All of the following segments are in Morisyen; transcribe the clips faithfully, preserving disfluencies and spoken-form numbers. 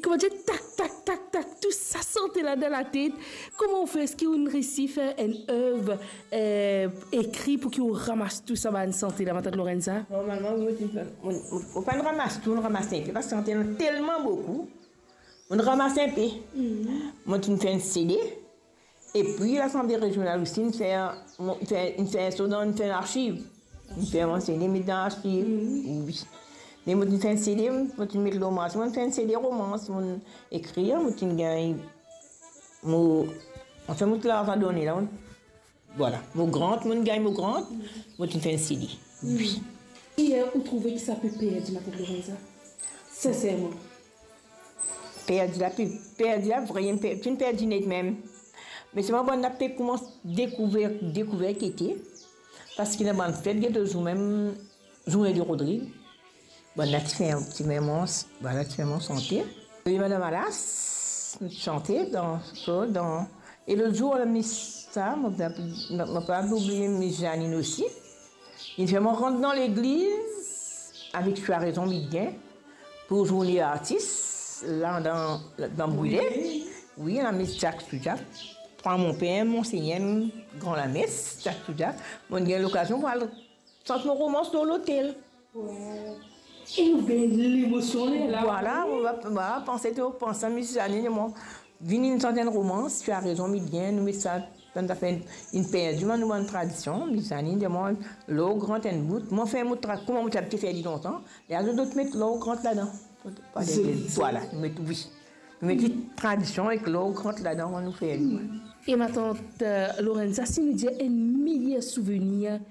Kouma dir, tak, tak, tak, tak, tou sa sante la dan latet. Kouma ou fer, eski ou inn resi fer enn ev, eh, ekri pou ki ou ramas tou sa bann sante la, matant Lorenza? Normalman, mo ti fer, mo, mo, mo pa'nn ramas tou, mo ramas enpe, parski sante la telman boukou. Mo ramas enpe. Mo ti fer enn CD. Epi Lasanble Rezional osi, inn fer, mo, inn fer, inn fer so dan, inn fer larsiv. Inn fer mo CD, met dan larsiv. Wi. Me mo ti fer CD, mo ti met lor marse, mo fer CD romans, mo ekrir, mo ti gagn, mo, anfin, mo ti larzan done la, mo, vwala. Mo grant, mo gagn mo grant, mo ti fer CD. Wi. Ki, eh, ou trouve ki sa pe perdi, matant Lorenza? Sinserman. Perdi la, pe-, perdi la, vremem, pe-, finn perdi net mem. Me selman bann la pe koumans dekouver, dekouver ki ete, parski ena bann fet, get zour mem, Zourne de Rodrig. Bann la ti fer, ti fer mans, bann la ti fer mans sante. E Madam Alas, sante dan, so, dan, e lot zour, la Miss sa, mo, mo, mo pa oubliye Miss Janine osi. Li fer mwa rant dan legliz avek Swa rezon Midien pou zourne artis, la dan, dan Brile. Wi, la Miss Jack Soudjak, pran mo per, Monsegner, gran lames, Jack Soudjak. Mo gagn lokazion pou al sant mo romans lor lotel. Wow. E ou gagn lemosion la. Vwala, mo va, mo va panse, to panse, Miss Janine, mo vinn inn sant enn romans, Swa rezon Midien, nou met sa, bann zafer inn perdi, bann, nou bann tradision, Miss Janine, mo, lor grant enn bout, mo fer mo tra-, kouma mo ti abitie fer li lontan, lerla zot met lor grant ladan. Zoli, zoli. Vwala, nou met, wi. Nou met li tradision ek lor grant ladan, kan nou fer li. E matant, eh, Lorenza, si nou dir enn meyer souvenir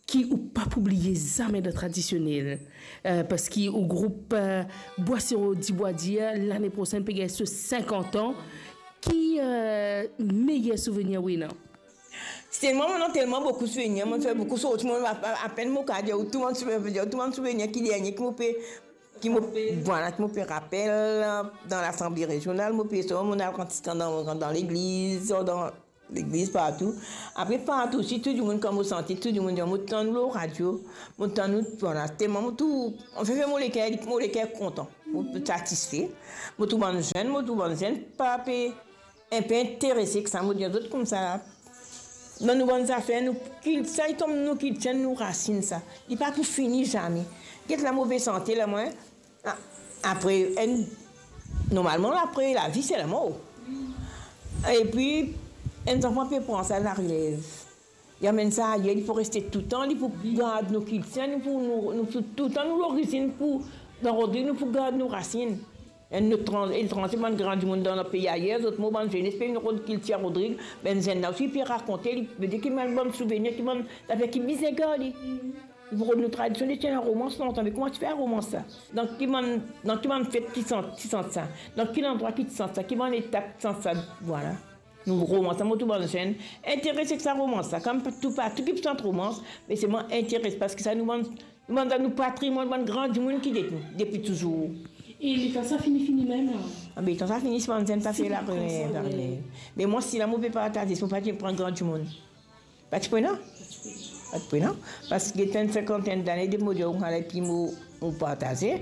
ki ou pa pou bliye zame dan tradisionel, eh, parski ou group, eh, Bwa Siro Dibwa Dir, lane prosenn pe gagn so sinkant an, ki, eh, meyer souvenir ou ena? Selman, mo ena telman boukou souvenir, mo fer boukou sorti, mo, a, a, apenn mo kapav dir tou bann souvenir, tou bann souvenir ki dernie ki mo pe, ki mo, vwala, ki mo pe rapel, dan Lasanble Rezional, mo pe sort, mo al rant dan, dan legliz, dan legliz, partou. Apre partou osi, tou dimoun, kan mo sante, tou dimoun dir, mo tann ou lor radio, mo tann ou, vwala, telman mo tou, anfin, fer mo leker, mo leker kontan, mo satisfe. Mo trouv bann zenn, mo trouv bann zenn pa pe inpe interese ek sa, mo dir zot koumsa la. Dan nou bann zafer, nou kil-, sa ki tom nou kiltir, nou rasinn sa. Li pa pou fini zame. Get la, mo pe sante la, mwa, a-, apre enn, normalman, apre lavi, se lamor. Epi, enn zanfan pe pran sa larelev. Li amenn sa ayer, li pou reste toutan, li pou gard nou kiltir, nou pou, nou, nou pou toutan nou lorizinn pou, dan Rodrig, nou pou gard nou rasinn. Enn lot tran-, etranze, bann gran dimoun dan lot pei ayer, zot mor, bann zenes pe vinn rod kiltir Rodrig, bann zenn la osi pe rakonte, li, vedir ki bann, bann souvenir, ki bann zafer ki bizin garde. Li pou rod nou tradision, li ti ena romans lontan, me kouma ti fer romans sa? Dan ki bann, dan ki bann fet ki sant, ki sant sa? Dan ki landrwa ki ti sant sa? Ki bann etap ki sant sa? Vwala. Nou romans la, mo trouv bann zenn interese ek sa romans la. Kan tou, pa tou ki pou sant romans, me selman interese, parski sa nou bann, nou bann, nou patrimwann, bann gran dimoun ki get nou depi touzour. E letan sa fini, fini mem la? A, be, letan sa fini, si bann zenn pa fer la, pa fer la. Me mwa, si la, mo pe partaze, si mo pa ti pran gran dimoun. Pa ti pou ena? Pa ti pou ena. Parski get enn sinkantenn dane depi mo dir ou, epi mo, mo partaze.